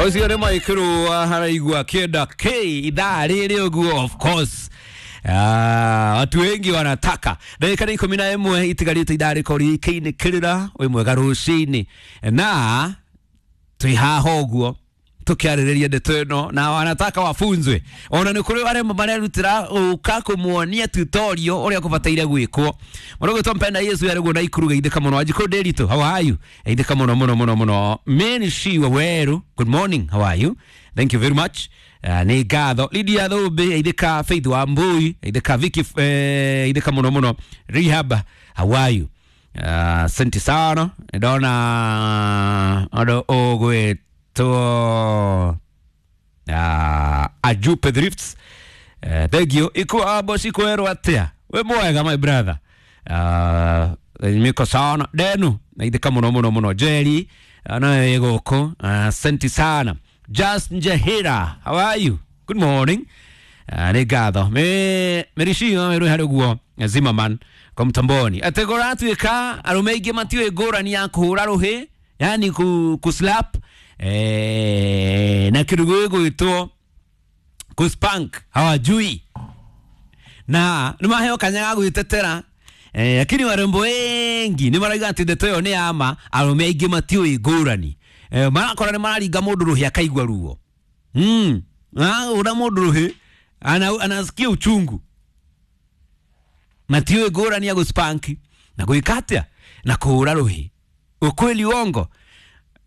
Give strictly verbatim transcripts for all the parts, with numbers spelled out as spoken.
Ũcio nĩ Maikuru haraigua kĩenda k ithaa rĩrĩ ũguo, of course. Ah, watu wengi wanataka. Ndagĩka nĩ ikũmi na ĩmwe itigarĩte ithaa rĩkorwo rĩkĩinĩkĩrĩra wĩ mwega rũcinĩ na twĩ haha ũguo tukiarĩrĩria ndeto ĩno na wanataka wafunzwe. Ona nĩ kũrĩ arĩa marerutĩra ũka kũmuonia tutorial ũrĩa kũbataire gwĩkwo. Mũrũgĩtwo Mpenda Yesu yarĩguo na Ikuru geithĩka mũno. Wanjikũ Nderitu, how are you? Geithĩka mũno mũno mũno mũno. Mary Waweru, good morning, how are you? Thank you very much. Uh, nĩ ngatho. Lydia Thũmbĩ, geithĩka. Faith Wambui, geithĩka. Vicky, eh, geithĩka mũno mũno. Rehab, how are you? Asante sana. Ndona andũ ũgwĩtwo uh, Ajupe Drifts. Uh, thank you. Iku abo sikwerwo atia? We mwega, my brother. Uh, miko sana. Denu, naithika muno muno muno. Jerry, nayo gũkũ. Asante sana. Just Njahira, how are you? Good morning. Uh, nĩ ngatho. Me Mericio meru harĩ ũguo Zimmerman kwa mtamboni. Atĩ kũratuĩka arũme aingĩ matiũĩ ngũrani ya kũhũra rũhĩ, yani ku, kuslap eh, na kĩndũ gĩgwĩtwo kuspank hawajui na nĩ maheo kanya ga gwĩtetera eh, lakini warembo wengi nĩ marauga atĩ ndeto ĩyo nĩ ya ma. Arũme aingĩ matiũĩ ngũrani eh, marakora nĩ mararinga mũndũ rũhĩ akaigua ruo mm. Ura mũndũ rũhĩ ana, anasikia uchungu. Matiũĩ ngũrani ya gũspank na gwĩka atĩa na kũhũra rũhĩ. Ukweli, uongo?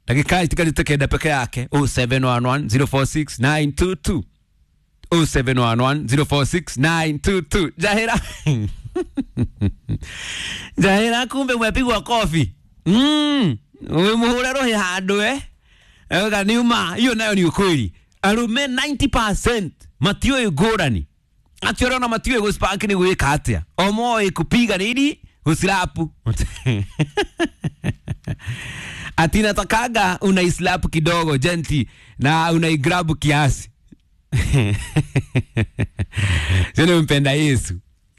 Ndagĩka itigarĩte kenda peke yake. zero seven one one zero four six nine two two, zero seven one one zero four six nine two two. Jahira, Jahira, kumbe umepigwa kofi mm. Umemuhura rohi handũ eh Ega ni uma hiyo nayo ni ukweli. Arume ninety percent matiũĩ ngũrani atĩ ũrona matiũĩ gũspank nĩ gwĩka atĩa, o moĩ kupiga nini, guslapu. Ati natakaga unaislap kidogo gently na unaigrab kiasi. Sio Mpenda Yesu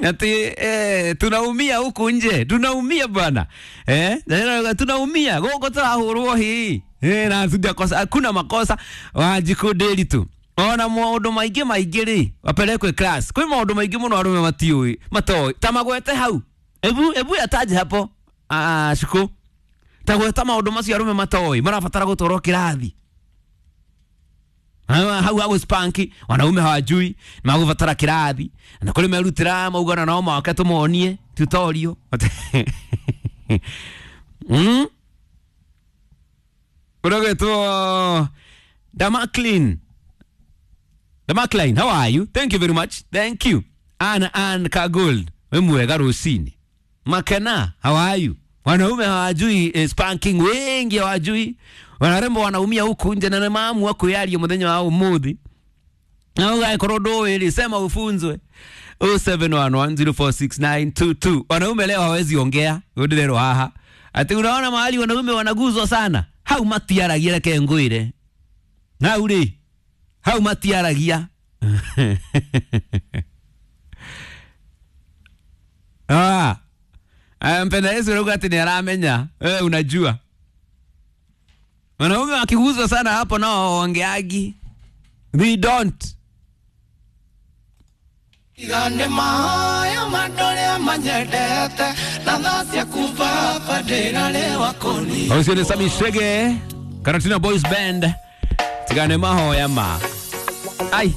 ati eh, tunaumia huku nje, tunaumia bwana eh, tunaumia gũkũ tũrahũrwo hii eh, na kosa hakuna makosa. Wanjikũ Nderitu, ona maũndũ maingĩ maingĩ rĩ wapelekwe class. Kwĩ maũndũ maingĩ mũno arũme matiũĩ matoĩ ta magwete hau. Ebu ebu yataje hapo. Ah, shuku ta gweta maũndũ macio arũme matoĩ marabatara gũtwarwo kĩrathi hau hau spanki wanaume hawajui magubatara kĩrathi na kũrĩ merutĩra maugana nao moke tũmonie tutorial mm Ũragĩtwo Damaklin. Damaklin, how are you? Thank you very much. Thank you. Anna Ann Kagold, we mwega rũcinĩ. Makena, how are you? Wanaume hawajui eh, spanking wengi hawajui. Wanarembo wanaumia huku nje na mamu wako yario muthenya wa umuthi. Na ũgagĩkorwo ndũĩ rĩ, sema ufunzwe. zero seven one one zero four six nine two two. Wanaume leo hawezi ongea, ndĩrerwo haha. Ati unaona mahali wanaume wanaguzwa sana. Hau matiaragia, reke ngwĩre. Hau rĩ, hau matiaragia. Ah. Mpenda Yesu rauga ati ni aramenya. Wewe unajua. Wanaume wakiguzwa sana hapo nao waongeagi. They don't. Igane mayo mandore manyendete na tha ciaku baba ndĩrarĩwa kũni. Ũcio nĩ Sami Shege, Karatina Boys Band. Tigane mahoya ma. Ai.